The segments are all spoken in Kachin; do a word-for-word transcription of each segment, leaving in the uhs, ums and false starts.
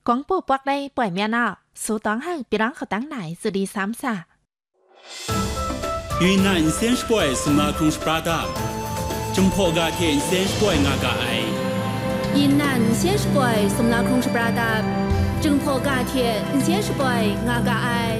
Kawng pu pawk lai poi mya na, su tawng hau pirang hkatang na ai suli sam sa. 云南 nsen shapoi sumla hkrung shapra dap, Jinghpaw ga hte nsen shapoi nga ga ai. 云南 nsen shapoi sumla hkrung shapra dap, Jinghpaw ga hte nsen shapoi nga ga ai.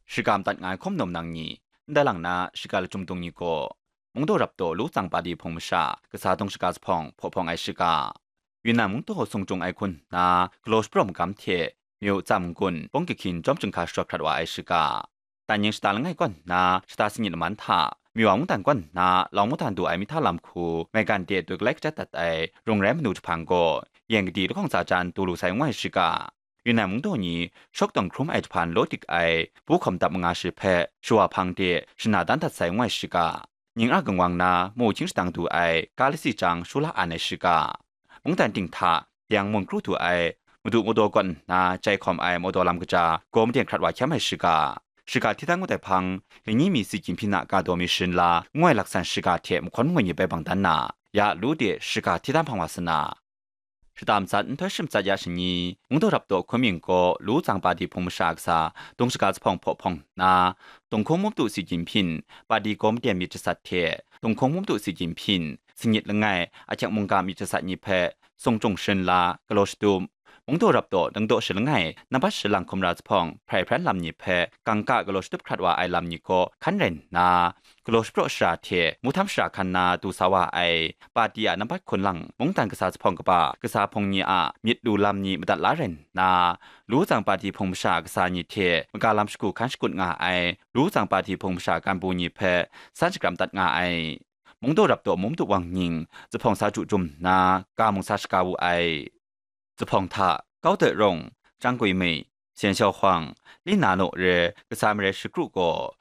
Shiga madat nga ai hkum num nang ni, ndai lang na shiga lachyum dung ni gaw, Mungdaw Rapdaw Lu Tsang Padi Hpung Masha Kasa Dung Shaga Zuphpawng hpaw hpawng ai shiga, Yunnan Mungdaw Sung Chyung Ai Hkun nna galaw shaprawng magam hte Myu Tsam N-gun Pawng Kahkyin Chyawm Chyinghka Shawt Hkrat Wa Ai Shiga, Dan Ying Shata Langai Kaw nna Shata Singit Laman hta Myu Wa Mungdan Kaw nna Lawng Mungdan Du Ai Mihta Lam Hku maigan de doi galai kachyat dat ai Rung Rai Manu Jahpang gaw Yen Kadi Lahkawng Tsa Jan Du Lu Sai N Wai Shiga, Yunnan Mungdaw ni Shawk Tawng Hkrum Ai Jahpan Law Dik Ai Bu Hkawm Dap Manga Shi hpe Shawa Hpang de Shana Dan Dat Sai N Wai Shiga, Ning A Kangwang na Mu Hkying Shadang Du Ai Ga Lasi Chyang Shu La An Ai Shiga, Mungdan Ting hta Deng Mun Kru Du Ai Madu Mawdaw Kaw nna Jai Hkawm Ai Mawdaw Lam Kaja Gaw Maden Hkrat Wa Hkyam Ai Shiga, Shiga Hti Htang Ngut Ai Hpang Lani Mi Si Gyim Hpyin A Ga Daw Mi Sharin La N Wai Laksan Shiga hte mahkawn mangwi ni bai bang dan na, ya lu de shiga hti htang hpang wa sa na. Shata matsat nhtoi shi matsat ya shani, Mungdaw Rapdaw Hkun Mying gaw Lu Tsang Padi Hpung Masha Kasa Dung Shaga Zuphpawng hpaw hpawng nna, Dung Hkung Mum Tu Si Gyim Hpyin Padi Gaw Maden Myit Jasat hte Dung Hkung Mum Tu Si Gyim Hpyin Singit Langai Ahkyek Mungga Myit Jasat ni hpe Sung Chyung Sharin La galaw shatup, Mungdaw Rapdaw Dangdaw Shi Langai Nambat Shi Lang Hkumra Zuphpawng Hprai Hpran Lam ni hpe Kangka galaw shatup hkrat wa ai lam ni gaw hkan rai nna, galaw shapraw shara hte mu htam shara hkan na du sa wa ai, Padi a nambat hkun lang Mungdan Kasa Zuphpawng kaba kasa hpung ni a myit lu lam ni madat la rai nna, Lu Tsang Padi Hpung Masha Kasa ni hte maga lam shagu hkan shakut nga ai Lu Tsang Padi Hpung Masha Ganbu ni hpe san shakram dat nga ai. Mungdaw Rapdaw Mum Tu Wang Nying Zuphpawng sa chyu jum nna, ga mung sa shaga wu ai. Zuphpawng hta Kau Doi Rung, Chyang Gwi Mei, Sian Xiao Huang, Lin Na Naw re Kasa Marai Shakru gaw